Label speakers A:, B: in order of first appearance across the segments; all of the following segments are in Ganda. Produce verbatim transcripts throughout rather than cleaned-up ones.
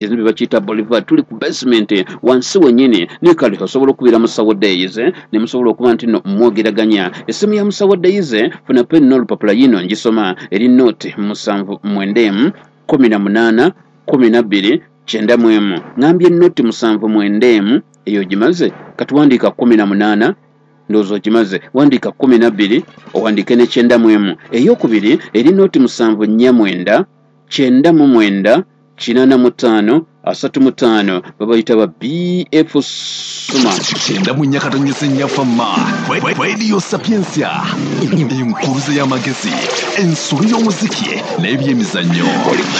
A: Ekizimbe bakiyita Boulevard, tuli ku basement wansi wennyini. Naye kale osobola okubira Musawo Days ne musobola okuba nti no mwogeraganya. Essimu ya Musawo Days, funa peni n'olupapula, yino ngisoma, eri nought musanvu mwenda emu kumi na munaana kumi na bbiri kyenda mu emu. Ŋambye nought musanvu mwenda emu, eyo ogimaze. Katuwandiika kumi na munaana, ndowooza ogimaze. Wandiika kumi na bbiri, owandiike ne kyenda mu emu. Eyokubiri eri nought musanvu nnya mwenda kyenda mu mwenda kinaana mu ttaano asatu mu ttaano. Babayita ba B F Suma.
B: Kyenda mu nnya katonyeza ennya Fama Radio Sapiensia, enkuluze y'amagezi, ensolo y'omuziki n'ebyemizannyo.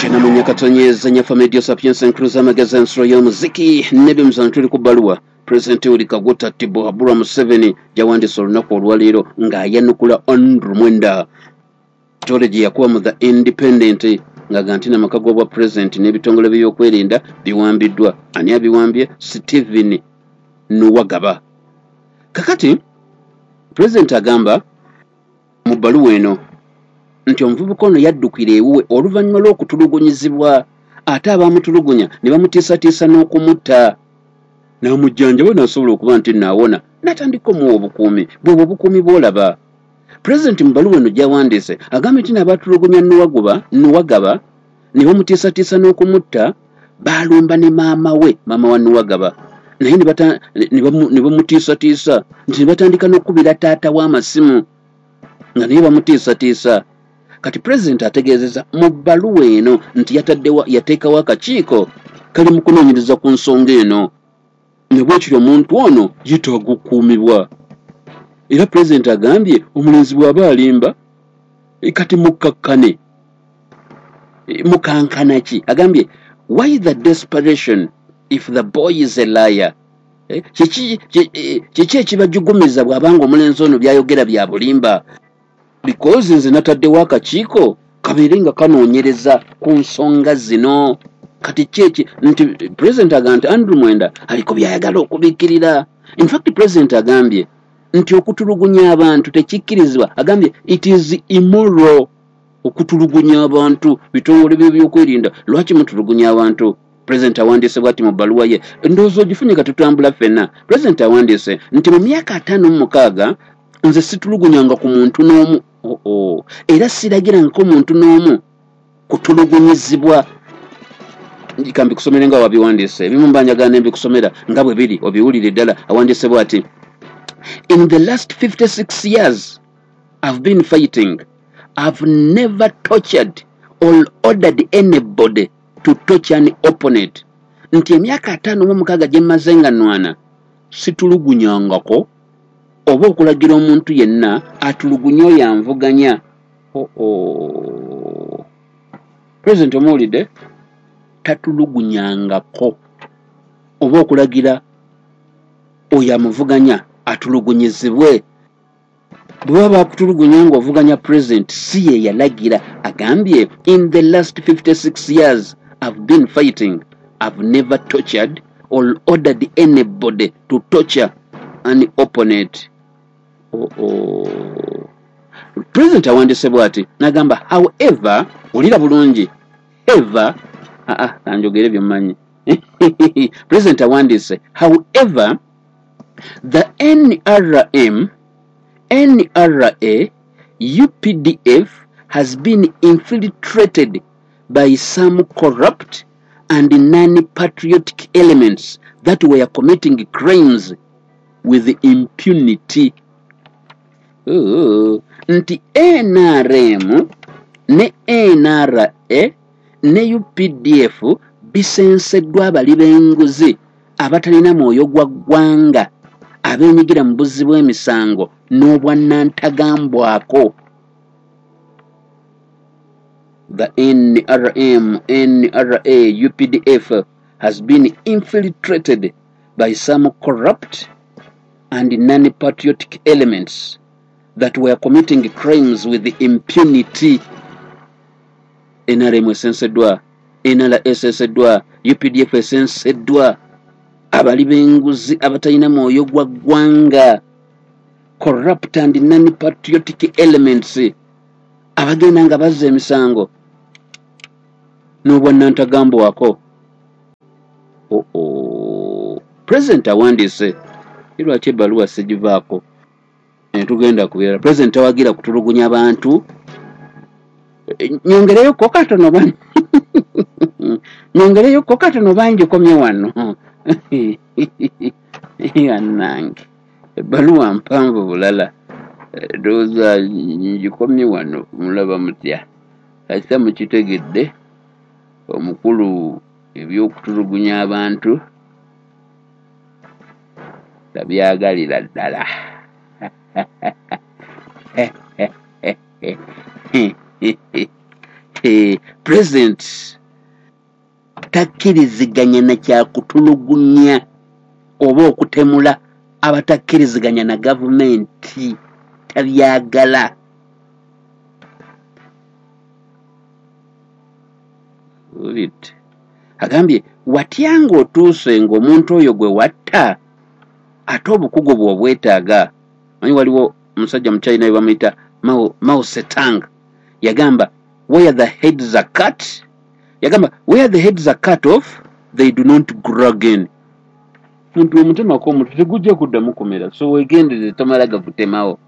A: Kyenda mu nnya katonyeza nnya Fama Radio Sapiensia, enkuluze y'amagezi, ensolo y'omuziki n'ebyemizannyo. Tuli ku bbaluwa Pulezidenti Yoweri Kaguta Tibuhaburwa Museveni gyawandiise olunaku olwaleero ng'ayanukula Andrew Mwenda tole gye yakuba mu The Independent, ng'aga nti n'amaka g'obwa pulezidenti n'ebitongole by'okwerinda biwambiddwa. Ani abiwambye? Stephen Nuwagaba. Kakati pulezidenti agamba mu bbaluwa eno nti omuvubuka ono yaddukira ewuwe oluvannyuma lw'okutulugunyizibwa, ate abaamutulugunya ne bamutiisatiisa n'okumutta, n'amujjanjaba n'asobola okuba nti naawona, n'atandika omuwa obukuumi. Bwebwe obukuumi bw'olaba pulezidenti mu bbaluwa eno gy'awandiise, agambye nti n'abaatulugunya Nuwaguba Nuwagaba ne bamutiisatiisa n'okumutta, baalumba ne maama we, maama wa Nuwagaba, naye ne bamutiisatiisa nti ne batandika n'okukubira taata w'amasimu nga naye bamutiisatiisa. Kati pulezidenti ategeezeza mu bbaluwa eno nti yataddewa, yateekawo akakiiko kali mu kunoonyereza ku nsonga eno, ne bwekiri omuntu ono yeetaaga okukuumibwa. Era pulezidenti agambye omulenzi bw'aba alimba, e, kati mukkakkane, e, mukankana ki? Agambye, "Why the desperation if the boy is a liar?" Eh, kiki kiki ekibajugumiza bw'abanga omulenzi ono byayogera bya bulimba? Because nze nataddewo akakiiko kabeere nga kanoonyereza ku nsonga zino. Kati kyeki nti pulezidenti agamba nti Andrew Mwenda aliko byayagala okubikkirira. In fact, pulezidenti agambye nti okutulugunya abantu tekikkirizibwa. Agambye it is immoral okutulugunya abantu. Bitongole byebyokwerinda, lwaki mutulugunya abantu? Pulezidenti awandiise bwati mu bbaluwa ye, ndowooza ogifunye, ka tutambula ffenna. Pulezidenti awandiise nti mu myaka ataano mu mukaaga nze situlugunyanga ku muntu n'omu, oo era siragirangako muntu n'omu kutulugunyizibwa. Kambikusomere nga wabiwandiise. Ebimu mba njagala ne mbikusomera nga bwe biri, obiwulire ddala. Awandiise bwati: "In the last fifty-six years I've been fighting, I've never tortured or ordered anybody to torture an opponent." Nti emyaka ataano mu mukaaga gye mmaze nga nnwana, situlugunyangako oba okulagira omuntu yenna atulugunye oyo anvuganya. Oo, pulezidenti omuwulidde, tatulugunyangako oba okulagira oyo amuvuganya atulugunyizibwe. Bwe baba bakutulugunya ng'ovuganya pulezidenti, si ye yalagira. Agambye, "In the last fifty-six years I've been fighting, I've never tortured or ordered anybody to torture an opponent." Oh, oh. President awandiise bw'ati n'agamba, however, wulira bulungi, ever, aa kanjogere byemmanyi. President awandiise, "However, the N R M, N R A, U P D F has been infiltrated by some corrupt and non-patriotic elements that were committing crimes with impunity." Oh, nti N R M ne N R A ne U P D F bisenseddwa abali b'enguzi abatalina mwoyo gwa ggwanga, abeenyigira mu buzzi bw'emisango n'obwannantagambwako. The N R M, N R A, U P D F has been infiltrated by some corrupt and non-patriotic elements that were committing crimes with impunity. N R M esenseddwa, N R A esenseddwa, U P D F esenseddwa abali b'enguzi abatalina mwoyo gwa ggwanga, corrupt and non-patriotic elements, abagenda nga bazza emisango n'obwannantagambwako. Oo, oh, president awandiise. Lwaki ebbaluwa sigivaako? Netugenda ku birala. President tawagira kutulugunya bantu. Nyongereyo ko katono ban nyongereyo ko katono bangikomye wano. Yannange, ebbaluwa mpanvu bulala, ndowooza ngikomye wano. Mulaba mutya? Kasita mukitegedde, omukulu ebyokutulugunya abantu tabyagalira ddala. President takkiriziganya na kyakutulugunya oba okutemula abatakkiriziganya na gavumenti, tabyagala. Agambye watya ng'otuuse ng'omuntu oyo gwe watta ate obukugu bwe obwetaaga. Manyi waliwo omusajja mu China bamuyita Mao, Mao Zedong, yagamba where the heads are cut, yagamba where the heads are cut off they do not grow again. Muntu omutemako omutwe tegujja kuddamu kumera, so weegendereze tomala gagutemawo.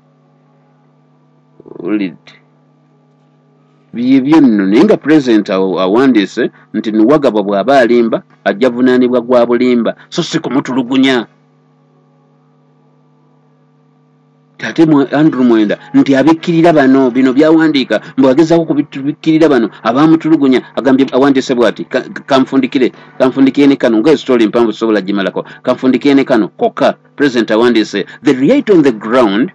A: Owulidde? Byebyo nno. Naye nga president awandiise nti Nuwagaba bw'aba alimba ajja vunaanibwa gwa bulimba, so si kumutulugunya. Ate Andrew Mwenda nti abikkirira bano, bino byawandiika mbu agezaako kubikkirira bano abamutulugunya. Agambye awandiise bw'ati, kanfundikire kanfundikire ne kano nga story mpanvu sobola gimalako, kanfundikire ne kano kokka. President awandiise, the reality on the ground,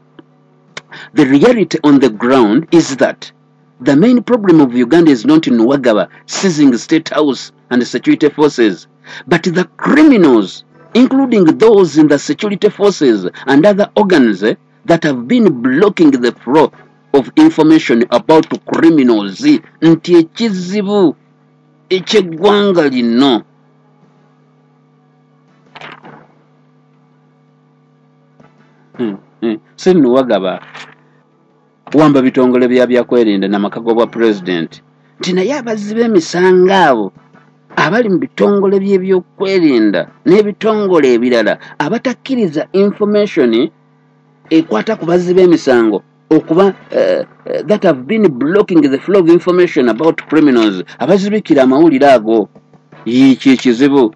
A: the reality on the ground is that the main problem of Uganda is not Nuwagaba seizing state house and security forces, but the criminals, including those in the security forces and other organs eh, that have been blocking the flow of information about criminals. Nti ekizibu eky'eggwanga lino hmm, hmm. si Nuwagaba wamba bitongole bya byakwerinda n'amaka g'obwa president, nti naye abazzi b'emisango abo abali mu bitongole by'ebyokwerinda n'ebitongole ebirala abatakkiriza information ekwata ku bazzi b'emisango okuba uh, uh, that have been blocking the flow of information about criminals, abazibikira amawulire ago. Yiki ekizibu.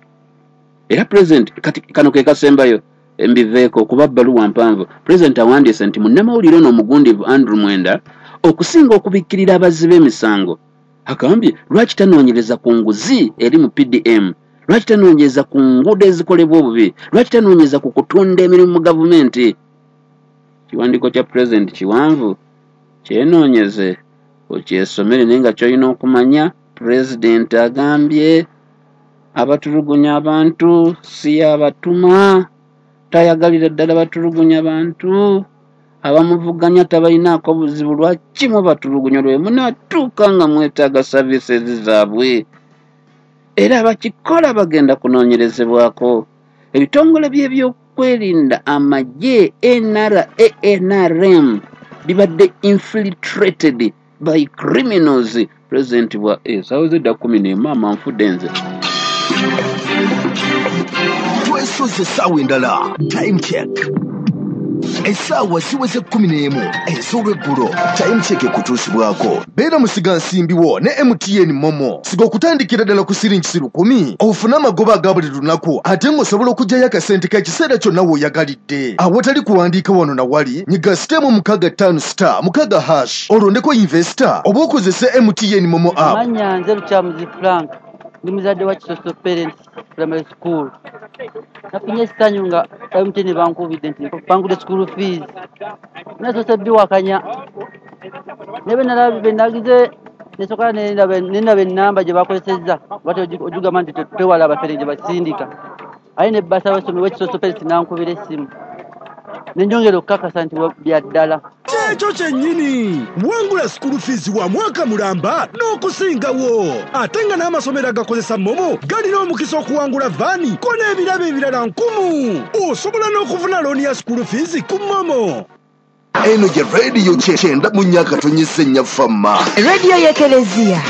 A: Era president kati kano ke kasembayo mbiveeko kuba bbaluwa mpanvu. President awandiise nti munnamawulire ono omugundivu Andrew Mwenda okusinga okubikkirira abazzi b'emisango, agambye lwaki tanoonyereza ku nguzi eri mu P D M, lwaki tanoonyereza ku nguudo ezikolebwa obubi, lwaki tanoonyereza ku kutunda emirimu mu gavumenti. Kiwandiiko kya president kiwanvu, kyenoonyeze okyesomere, naye nga ky'olina okumanya president agambye abatulugunya abantu si yabatuma, tayagalira ddala batulugunya bantu, abamuvuganya tabalinaako buzibu, lwaki mubatulugunya lwe munaatuuka nga mwetaaga services zaabwe? Era abakikola bagenda kunoonyerezebwako. Ebitongole by'ebyokwerinda, amagye, N R A, N R M bibadde infiltrated by criminals. President bwa essaawa zedda kkumi n'emu ama nfudde nze.
B: Twesoze essaawa endala. Time check. Essaawa ziweze kkumi n'emu ez'olweggulo. Time check ekutuusibwako. Beera musigansimbi wo ne M T N Momo. Siga okutandikira ddala ku siringi lukumi ofune amagoba aga buli lunaku, ate ng'osobola okuggyayo akasente k'ekiseera kyonna w'oyagalidde. Awatali kuwandiika wano na wali, nyiga sitemu mukaaga ttaano star mukaaga hash olondeko investor oba okozese M T N Momo app.
C: Mannya nze Lukyamuzi Frank, ndi muzadde wa Kisoso Parents Primary School. Nafunye essanyu nga M T N bankubidde nti bangudde school fees. Nasoose biwakanya. Ne bwe nalabye bwe nagize nesooka ne ndaba ennamba gye bakozesezza, bw'atyo ogigamba nti twewala abafere gye basindika. Aye ne bbasa w'essomero w'Ekisoso Parents n'ankubira essimu. Ne njongera okukakasa nti bya ddala.
D: Kyekyo kyennyini, wangula school fees wa mwaka mulamba n'okusingawo. Ate nga n'amasomero agakozesa Momo galina omukisa okuwangula vaani ko n'ebirabo ebirala nkumu. Osobola n'okufuna looni ya school fees ku Momo.
B: Eno ye radio kyenda mu myaka tonyise nnyafamma.
E: Radio y'Ekelezia.